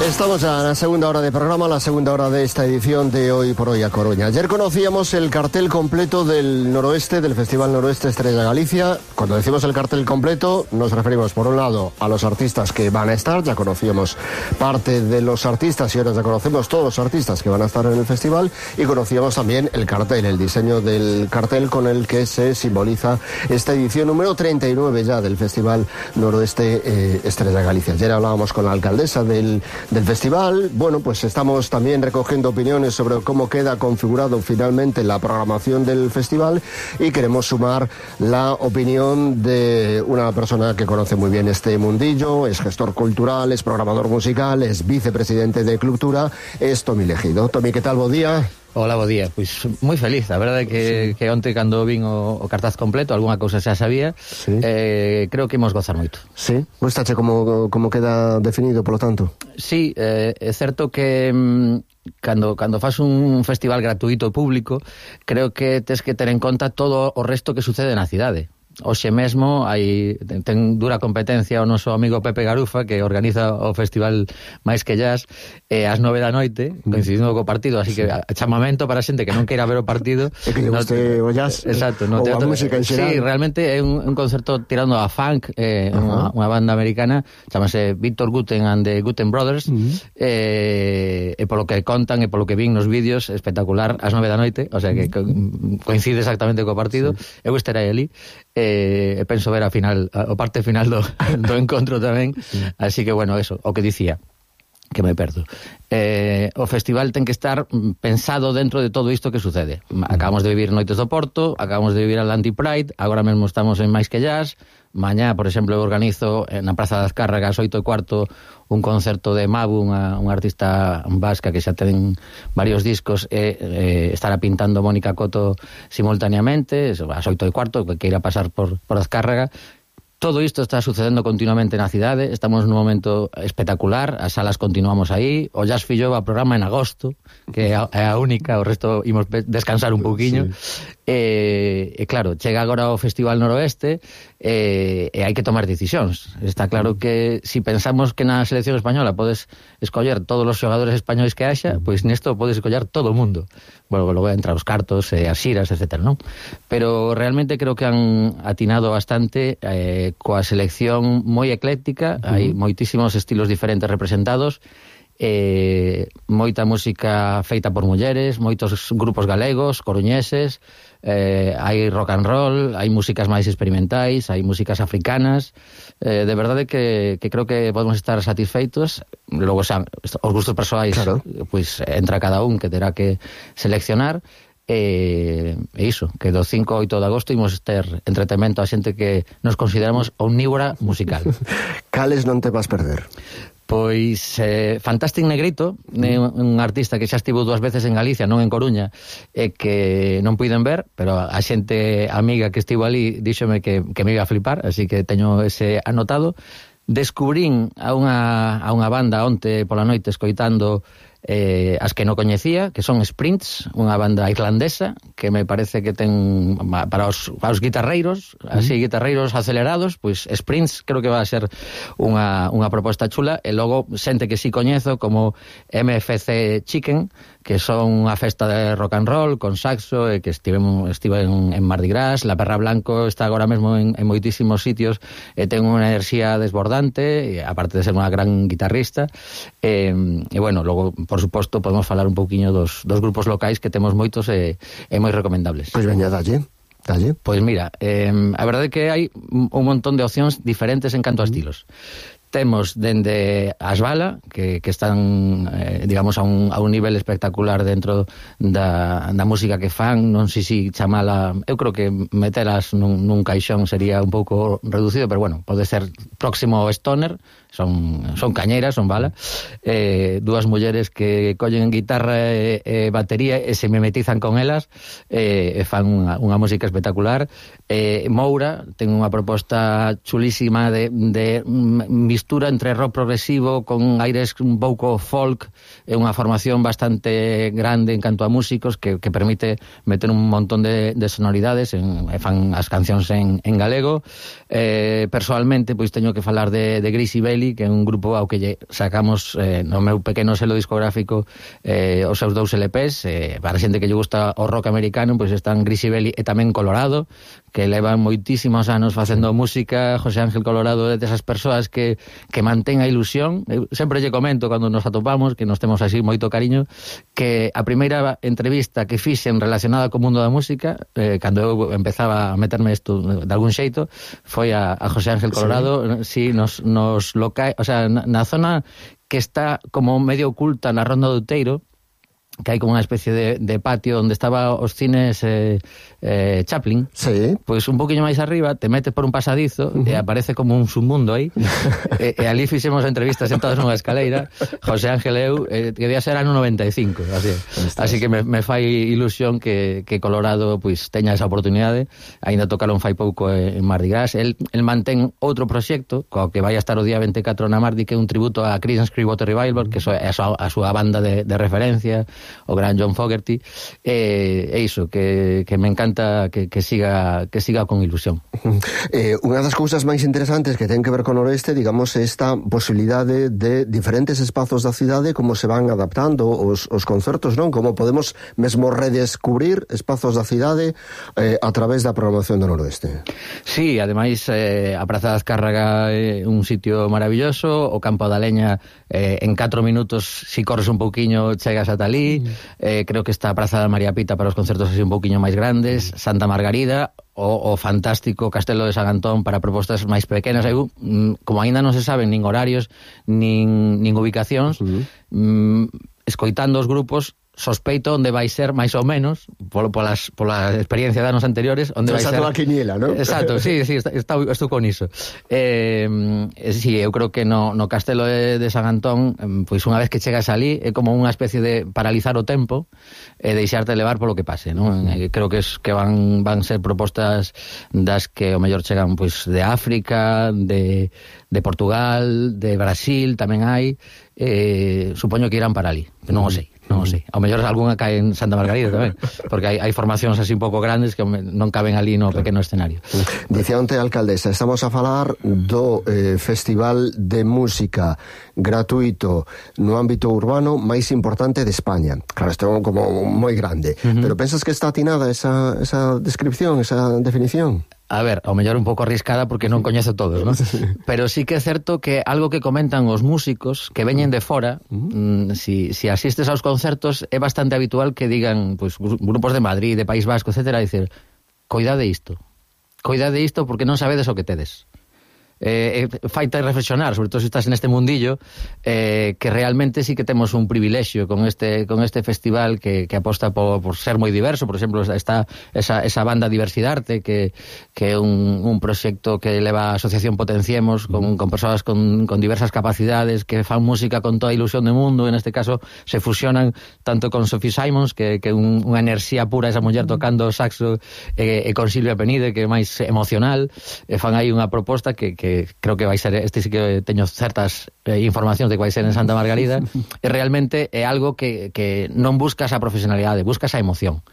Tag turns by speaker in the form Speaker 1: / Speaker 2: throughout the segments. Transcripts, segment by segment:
Speaker 1: Estamos ya en la segunda hora de programa, la segunda hora de esta edición de Hoy por Hoy a Coruña. Ayer conocíamos el cartel completo del Noroeste, del Festival Noroeste Estrella Galicia. Cuando decimos el cartel completo, nos referimos por un lado a los artistas que van a estar. Ya conocíamos parte de los artistas y ahora ya conocemos todos los artistas que van a estar en el festival. Y conocíamos también el cartel, el diseño del cartel con el que se simboliza esta edición número 39 ya del Festival Noroeste Estrella Galicia. Ayer hablábamos con la alcaldesa del festival. Bueno, pues estamos también recogiendo opiniones sobre cómo queda configurado finalmente la programación del festival y queremos sumar la opinión de una persona que conoce muy bien este mundillo, es gestor cultural, es programador musical, es vicepresidente de Cultura, es Tomi Legido. Tomi, ¿qué tal? Bo día.
Speaker 2: Hola, bo día. Pois moi feliz, a verdade que onte cando vin o cartaz completo, algunha cousa xa sabía, sí. Creo que imos gozar moito.
Speaker 1: Sí? Gustache como queda definido, polo tanto?
Speaker 2: Sí, é certo que cando fas un festival gratuito público, creo que tes que ter en conta todo o resto que sucede na cidade. Hoxe mesmo ten dura competencia o noso amigo Pepe Garufa, que organiza o festival Máis que Jazz, ás 9 da noite, coincidindo co partido, así que chamamento para a xente que non queira ver o partido.
Speaker 1: É que lle guste o jazz,
Speaker 2: exacto,
Speaker 1: ou a música en xeral.
Speaker 2: Sí, realmente é un concerto tirando a funk, unha banda americana, chamase Victor Guten and the Guten Brothers, e polo que contan e polo que vin nos vídeos, espectacular, ás 9 da noite, o sea que coincide exactamente co partido. Sí. Eu estarei ali, penso ver o parte final do encontro tamén, sí. Así que bueno, eso, o que dicía que me perdo. O festival ten que estar pensado dentro de todo isto que sucede. Acabamos de vivir Noites do Porto, acabamos de vivir Atlantic Pride, agora mesmo estamos en Máis que Jazz. Mañá, por exemplo, organizo na Praza das Cárragas 8:15 un concerto de Mabu, unha artista vasca que xa ten varios discos, estará pintando Mónica Coto simultaneamente, ás 8:15, que queira pasar por Azcárraga. Todo isto está sucedendo continuamente na cidade, estamos nun momento espectacular, as salas continuamos aí, o Jazz Fillo va a programa en agosto, que é a única, o resto imos descansar un pouquiño. Sí. E claro, chega agora o Festival Noroeste e hai que tomar decisións. Está claro que si pensamos que na selección española podes escoller todos os xogadores españois que haxa, pois nesto podes escoller todo o mundo. Bueno, logo entrar os cartos, as xiras, etc., non? Pero realmente creo que han atinado bastante coa selección moi ecléctica, hai moitísimos estilos diferentes representados, moita música feita por mulleres, moitos grupos galegos, coruñeses, hai rock and roll, hai músicas máis experimentais, hai músicas africanas, de verdade que creo que podemos estar satisfeitos. Logo xa, os gustos persoais, claro, pois entra cada un que terá que seleccionar. E iso, que do 5 ao 8 de agosto imos ter entretemento a xente que nos consideramos omnívora musical.
Speaker 1: Cales non te vas perder?
Speaker 2: Pois Fantastic Negrito, un artista que xa estivo 2 veces en Galicia, non en Coruña, e que non puiden ver, pero a xente amiga que estivo ali díxome que me iba a flipar, así que teño ese anotado. Descubrín a unha banda onte pola noite escoitando as que non coñecía, que son Sprints, unha banda irlandesa que me parece que ten para os guitarreiros, así guitarreiros acelerados, pois Sprints creo que va a ser unha proposta chula. E logo xente que si coñezo como MFC Chicken, que son unha festa de rock and roll con saxo, e que estive en Mardi Gras. La Perra Blanco está agora mesmo en moitísimos sitios e ten unha enerxía desbordante, aparte de ser unha gran guitarrista, e bueno, logo por suposto podemos falar un pouquiño dos grupos locais que temos moitos e moi recomendables.
Speaker 1: Pois veña, dalle.
Speaker 2: Pois mira, a verdade é que hai un montón de opcións diferentes en canto a estilos. Temos dende as Bala, que están, digamos, a un nivel espectacular dentro da música que fan. Non sei se chamala, eu creo que metelas nun caixón sería un pouco reducido, pero bueno, pode ser próximo ao stoner. Son cañeiras, son Bala, dúas mulleres que collen guitarra e batería e se mimetizan con elas, e fan unha música espectacular. Moura ten unha proposta chulísima de mistura entre rock progresivo con aires un pouco folk, e unha formación bastante grande en canto a músicos que permite meter un montón de sonoridades, e fan as cancións en galego. Personalmente, pois teño que falar de Gracie Bailey, Grisibelli, que é un grupo ao que lle sacamos no meu pequeno selo discográfico os seus 2 LPs. Para a xente que lle gusta o rock americano, pois están Grisibelli e tamén Colorado, que levan moitísimos anos facendo música. José Ángel Colorado é desas persoas que mantén a ilusión. Eu sempre lle comento cando nos atopamos, que nos temos así moito cariño, que a primeira entrevista que fixen relacionada co mundo da música, cando eu empezaba a meterme isto de algún xeito, foi a José Ángel Colorado, sí, nos locais, o sea, na zona que está como medio oculta na Ronda do Outeiro, que hai como unha especie de patio onde estaba os cines Chaplin.
Speaker 1: Sí.
Speaker 2: Pois un poquinho máis arriba te metes por un pasadizo e aparece como un submundo aí. E ali fixemos entrevistas sentados nunha escaleira, José Ángel e eu, que debía ser ano 95, así que me fai ilusión que Colorado pois teña esa oportunidade. Aínda tocaron fai pouco en Mardi Gras. El mantén outro proxecto co que vai a estar o día 24 na Mardi, que é un tributo a Creedence Clearwater Revival, que é a súa banda de referencia, o gran John Fogerty. É iso, que me encanta que siga con ilusión.
Speaker 1: Unha das cousas máis interesantes que ten que ver con o noroeste, digamos, é esta posibilidade de diferentes espazos da cidade, como se van adaptando os concertos, non? Como podemos mesmo redescubrir espazos da cidade a través da programación do noroeste.
Speaker 2: Sí, ademais a Praza da Azcárraga é un sitio maravilloso, o Campo da Leña en 4 minutos, si corres un pouquiño chegas ata ali. Creo que está a Praza da María Pita para os concertos así un pouquiño máis grandes, Santa Margarida, o fantástico Castelo de San Antón para propostas máis pequenas. Como aínda non se saben nin horarios nin ubicacións, escoitando os grupos, sospeito onde vai ser máis ou menos pola experiencia de anos anteriores, onde vai ser
Speaker 1: a quiniela, ¿no?
Speaker 2: Exacto, sí, estou con iso. Sí, eu creo que no Castelo de San Antón, pois unha vez que chegas ali é como unha especie de paralizar o tempo e deixarte levar polo que pase, non? Creo que van ser propostas das que o mellor chegan pois de África, de Portugal, de Brasil tamén hai. Supoño que irán para ali, non o sei. Ao mellor algunha cae en Santa Margarida tamén, porque hai formacións así un pouco grandes que non caben ali no pequeno escenario.
Speaker 1: Dicía onte a alcaldesa, estamos a falar do festival de música gratuito no ámbito urbano máis importante de España. Claro, isto é como moi grande, pero pensas que está atinada esa descripción, esa definición?
Speaker 2: A ver, ao mellor un pouco arriscada porque non coñezo todos, ¿no? Pero sí que é certo que algo que comentan os músicos que veñen de fora, si asistes aos concertos, é bastante habitual que digan, pues, grupos de Madrid, de País Vasco, etcétera, dicir, coidade isto porque non sabedes o que tedes. Faite reflexionar, sobre todo se estás neste mundillo, que realmente sí que temos un privilexio con este festival que aposta por ser moi diverso. Por exemplo, está esa banda Diversidarte, que é un proxecto que leva a Asociación Potenciemos con persoas con diversas capacidades que fan música con toda a ilusión do mundo. En este caso se fusionan tanto con Sophie Simons, que é unha enerxía pura, esa muller tocando saxo, e con Silvia Penide, que é máis emocional. Fan aí unha proposta que creo que vai ser, sí que teño certas informacións de que vai ser en Santa Margarida, e realmente é algo que non buscas a profesionalidade, buscas a emoción.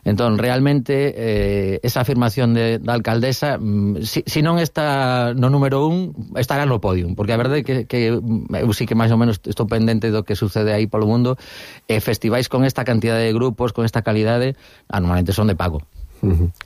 Speaker 2: Entón, realmente, esa afirmación da alcaldesa, si non está no número 1, estará no podium, porque a verdade é que eu sí que máis ou menos estou pendente do que sucede aí polo mundo, e festivais con esta cantidad de grupos, con esta calidade, normalmente son de pago.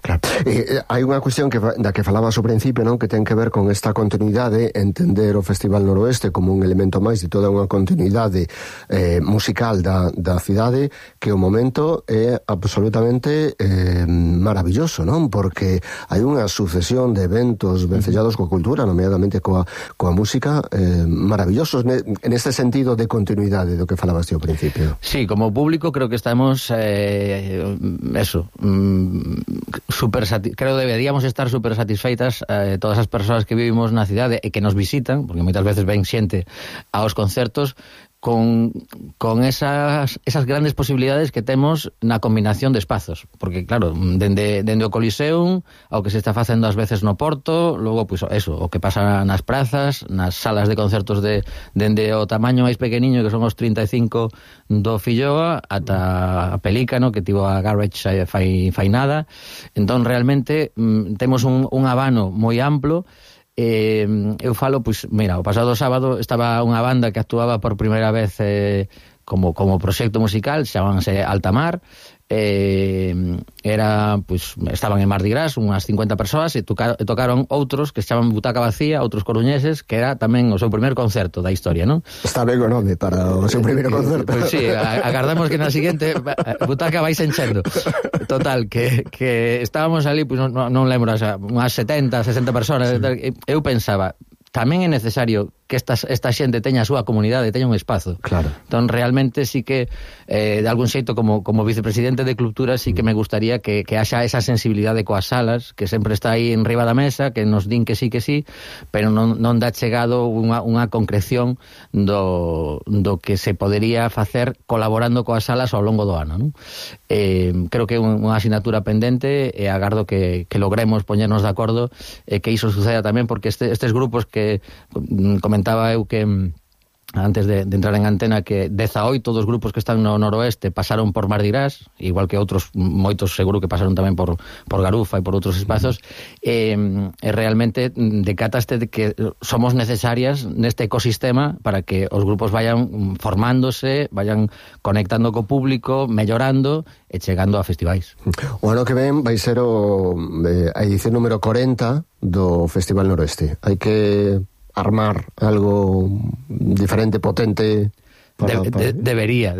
Speaker 1: Claro. Hai unha cuestión da que falabas ao principio, non? Que ten que ver con esta continuidade, entender o Festival Noroeste como un elemento máis de toda unha continuidade musical da cidade, que o momento é absolutamente maravilloso, non? Porque hai unha sucesión de eventos vencellados coa cultura, nomeadamente coa música, maravillosos neste sentido de continuidade do que falabas ti ao principio.
Speaker 2: Sí, como público creo que estamos creo que deberíamos estar super satisfeitas todas as persoas que vivimos na cidade e que nos visitan, porque moitas veces ven xente aos concertos, con esas grandes posibilidades que temos na combinación de espazos, porque claro, dende o Coliseum ao que se está facendo ás veces no Porto, logo pois eso, o que pasa nas prazas, nas salas de concertos dende o tamaño máis pequeniño, que son os 35 do Filloa, ata a Pelícano, que tivo a Garage fai nada. Entón realmente temos un abano moi amplo, Eu falo, pois, mira, o pasado sábado estaba unha banda que actuaba por primeira vez como proxecto musical, chamábanse Altamar, era, pues, estaban en Mardi Gras unhas 50 persoas e tocaron outros que se chaman Butaca Vacía, outros coruñeses, que era tamén o seu primer concerto da historia, non?
Speaker 1: Está ben o nome para o seu primeiro concerto.
Speaker 2: Pues sí, agardamos que na seguinte Butaca vais enchendo. Total, que estábamos ali, pues, non lembro, unhas 70, 60 persoas. Eu pensaba, tamén é necesario que esta xente teña a súa comunidade, teña un espazo.
Speaker 1: Claro.
Speaker 2: Entón, realmente sí que, de algún xeito, como vicepresidente de Cultura, sí que me gustaría que haxa esa sensibilidade coas salas, que sempre está aí en riba da mesa, que nos din que sí, pero non dá chegado unha concreción do que se podería facer colaborando coas salas ao longo do ano, non? Creo que é unha asignatura pendente e agardo que logremos poñernos de acordo que iso suceda tamén, porque estes grupos que comentaba eu que antes de entrar en antena, que 18 dos grupos que están no noroeste pasaron por Mardi Gras, igual que outros moitos seguro que pasaron tamén por Garufa e por outros espazos, e realmente decataste de que somos necesarias neste ecosistema para que os grupos vayan formándose, vayan conectando co público, mellorando e chegando a festivais.
Speaker 1: O ano que ven vai ser a edición número 40 do Festival Noroeste. Hai que armar algo diferente, potente.
Speaker 2: Debería.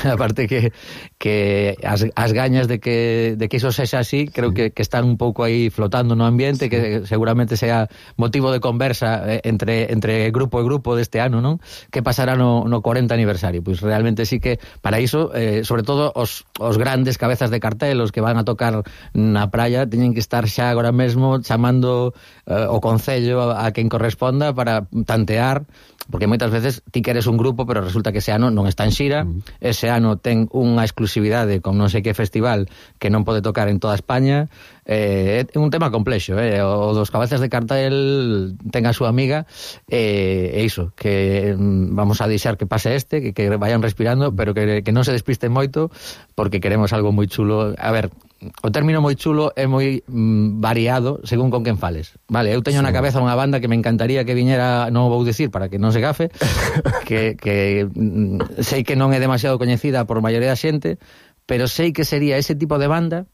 Speaker 2: Aparte que as gañas de que iso sexa así, creo que están un pouco aí flotando no ambiente, que seguramente sea motivo de conversa entre grupo e grupo deste ano, non? Que pasará no 40 aniversario. Pois realmente sí que para iso, sobre todo os grandes cabezas de cartel, os que van a tocar na praia, teñen que estar xa agora mesmo chamando o concello a quen corresponda para tantear, porque moitas veces ti queres un grupo, pero resulta que ese ano non está en xira, ese ano ten unha exclusividade con non sei que festival que non pode tocar en toda España. É un tema complexo, o dos cabezas de cartel ten a súa amiga, e iso, que vamos a deixar que pase que vayan respirando, pero que non se despisten moito, porque queremos algo moi chulo. A ver, o término moi chulo é moi variado según con quen fales, vale? Eu teño na cabeza unha banda que me encantaría que viñera, non vou dicir para que non se gafe, que sei que non é demasiado coñecida por maioría da xente, pero sei que sería ese tipo de banda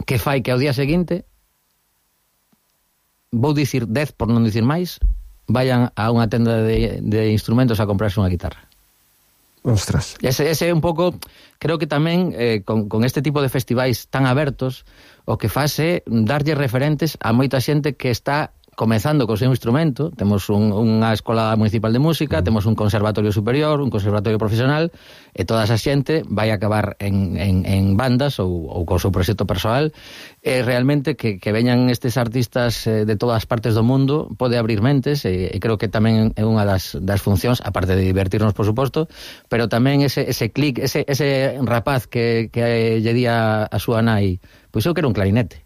Speaker 2: que fai que ao día seguinte, vou dicir 10 por non dicir máis, vayan a unha tenda de instrumentos a comprarse unha guitarra.
Speaker 1: Ostras.
Speaker 2: Ese é un pouco, creo que tamén con este tipo de festivais tan abertos, o que fase darlle referentes a moita xente que está comezando co seu instrumento. Temos unha escola municipal de música, temos un conservatorio superior, un conservatorio profesional, e toda esa xente vai acabar en bandas ou co seu proxecto persoal. E realmente que veñan estes artistas de todas as partes do mundo pode abrir mentes, e creo que tamén é unha das funcións, aparte de divertirnos, por suposto, pero tamén ese clic, ese rapaz que lle di a súa nai, pois eu quero un clarinete.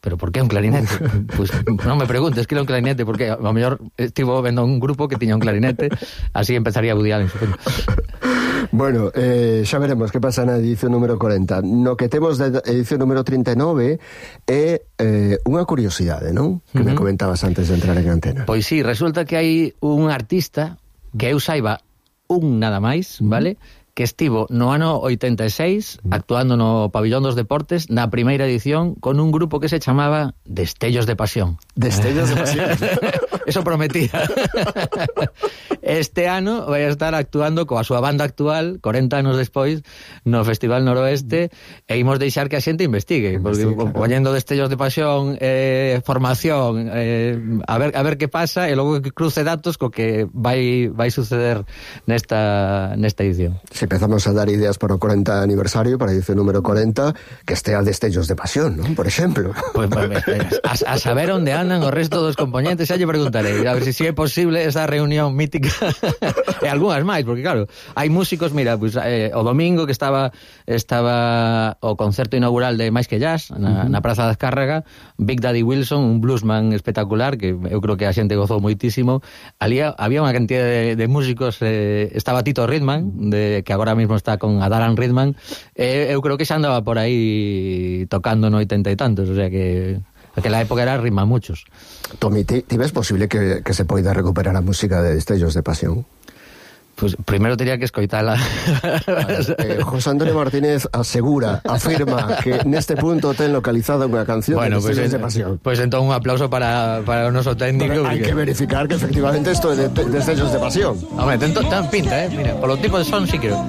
Speaker 2: Pero por que un clarinete? Pois non me preguntes que era un clarinete, porque a mellor estivo vendo un grupo que tiña un clarinete, así empezaría Woody Allen, supoño.
Speaker 1: Bueno, xa veremos que pasa na edición número 40. No que temos da edición número 39 é unha curiosidade, non? Que me comentabas antes de entrar en antena.
Speaker 2: Pois sí, resulta que hai un artista que eu saiba un nada máis, vale? Que estivo no ano 86 actuando no Pabillón dos Deportes na primeira edición con un grupo que se chamaba Destellos de Pasión.
Speaker 1: Destellos de Pasión.
Speaker 2: Eso prometía. Este ano vai a estar actuando coa súa banda actual 40 anos despois no Festival Noroeste, e imos deixar que a xente investigue, porque poñendo Destellos de Pasión, formación, a ver que pasa, e logo que cruce datos co que vai suceder nesta edición.
Speaker 1: Si empezamos a dar ideas para o 40 aniversario, para a edición número 40, que estea Destellos de Pasión, non? Por exemplo.
Speaker 2: Pues, a saber onde andan o resto dos componentes, xa lle preguntarei, a ver se é posible esa reunión mítica e algunhas máis, porque claro, hai músicos, mira, pues, o domingo que estaba o concerto inaugural de Máis que Jazz na Praza da Azcárraga, Big Daddy Wilson, un bluesman espectacular que eu creo que a xente gozou moitísimo. Ali había unha cantidad de músicos, estaba Tito Ridman, que agora mesmo está con Adaran Ridman, eu creo que xa andaba por aí tocando no 80 e tantos, o sea que Aquela época era rima muchos.
Speaker 1: Tomi, ti ves posible que se poida recuperar a música de Destellos de Pasión?
Speaker 2: Pues primeiro teria que escoitala.
Speaker 1: José Antonio Martínez afirma que neste punto ten localizada unha canción de Destellos de Pasión.
Speaker 2: Pues entón un aplauso para o noso técnico.
Speaker 1: Hai que verificar que efectivamente isto é de Destellos de Pasión.
Speaker 2: Hombre, ten pinta, mira, polo tipo de son sí creo.